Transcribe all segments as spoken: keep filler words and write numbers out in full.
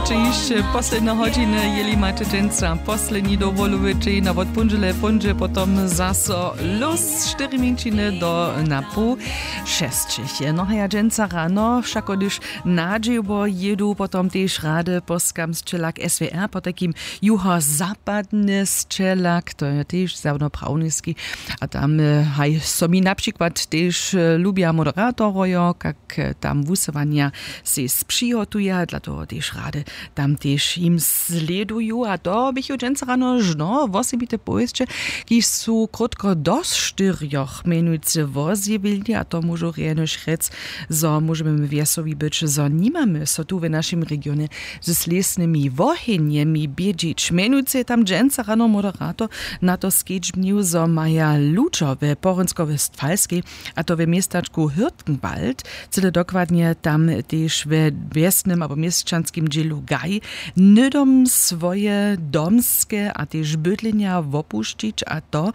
Če hišće posledne hodźiny, jeli maće dźensa posledni dowolowy dźeń, a wot póndźele póńdźe potom zaso lós štyri mjeńšiny do na poł šesćich. No a ja dźensa rano wšako hdyž na dźěło jědu, potom tež rady po skamsćelak S W R, potajkim juhozapadny sćelak, to je tež zjawno prawniski. A tam e, haj so mi na přikład tež e, lubja moderatorojo, kak e, tam wusyłanja sej přihotuja, dla toho tež rady tam tež jim slěduju. A to běchu dźensa rano žno wosebite powěsće, kiž su krótko do štyrjoch mjenujcy wozjewili, a to móžu rjenož rjec, zo móžemy wjesowi być, zo nimamy so tu w našim regionje z lěsnymi wohenjemi bědźić. Mjenujcy je tam dźensa rano moderator na to skedźbnił, zo maja ludźo we Porynsko-Westfalskej, a to we městačku Hürtgenwald, cyle dokładnje tam tež we wjesnym abo měsćanskim dźělu Gaj, hnydom swoje domske a tež bydlenja wopušćić, a to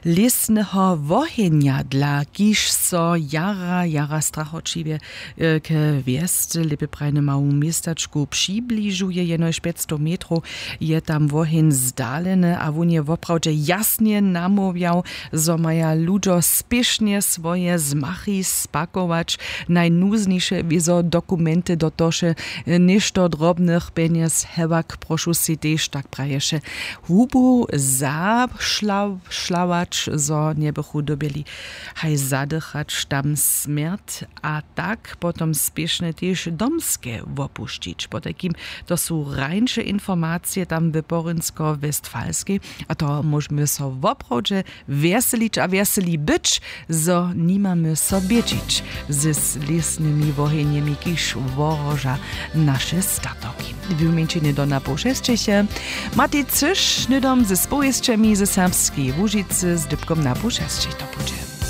lěsneho wohenja, dla kiž so jara jara strachoćiwje e, k wjesce lěpje prajny mału městačku přibližuje. Jenož pjećstow metrow je tam woheń zdaleny a wón je woprawdźe jasnje namołwjał, zo maja ludźo spěšnje swoje zmachy spakować, najnuzniše wězo dokumenty do toše, e, něšto drobnych pjenjez, hewak prošu sej tež, tak praješe, hubu zašlawać, zo njebychu dyrbjeli haj zadychać tam smjert, a tak potom spěšnje tež domske wopušćić. Potajkim to su rańše informacije tam w Porynsko-Westfalskej, a to móžemy so woprawdźe wjeselić a wjeseli być, zo nimamy so bědźić z lěsnymi wohenjemi, kiž wohroža naše statoki. W mjeńšinje do na poł šesćich je Matej Cyš hnydom ze spowěsćemi ze Serbskeje Łužicy z dypkom na poł šesćich to budźe.